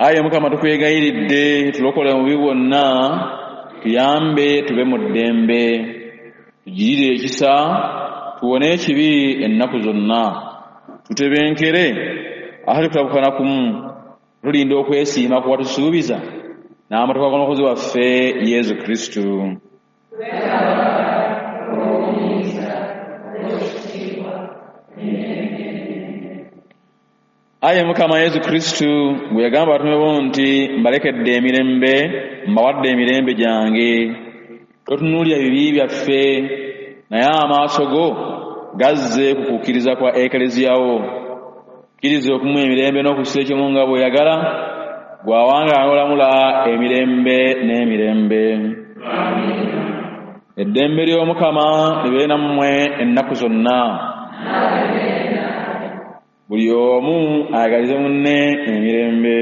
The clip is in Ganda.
Ayi Mukama, tukwegayiridde tulokole mu bubi bwonna, tuyambe tube mu ddembe, tugirire ekisa, tuwone ekibi ennaku zonna, tutebenkere atali kutabukana kumu, tulinda okwesiima ku watusuubiza n'amatuka g'Omulokozi waffe Yesu Kristo. Ayi Mukama Yesu Kristo, bwe yagamba abatume bo nti, mbalekedde emirembe, mbawadde emirembe gyange, totunuulira bibi byaffe, naye amaaso go gazze ku kukkiriza kwa Ekleziya wo. Kkiriza okumuwa emirembe n'okussa ekimu nga bw'oyagala, gw'awangaala n'olamula emirembe n'emirembe. Eddembe ly'Omukama libeere nammwe ennaku zonna. Buli omu ayagalize munne emirembe.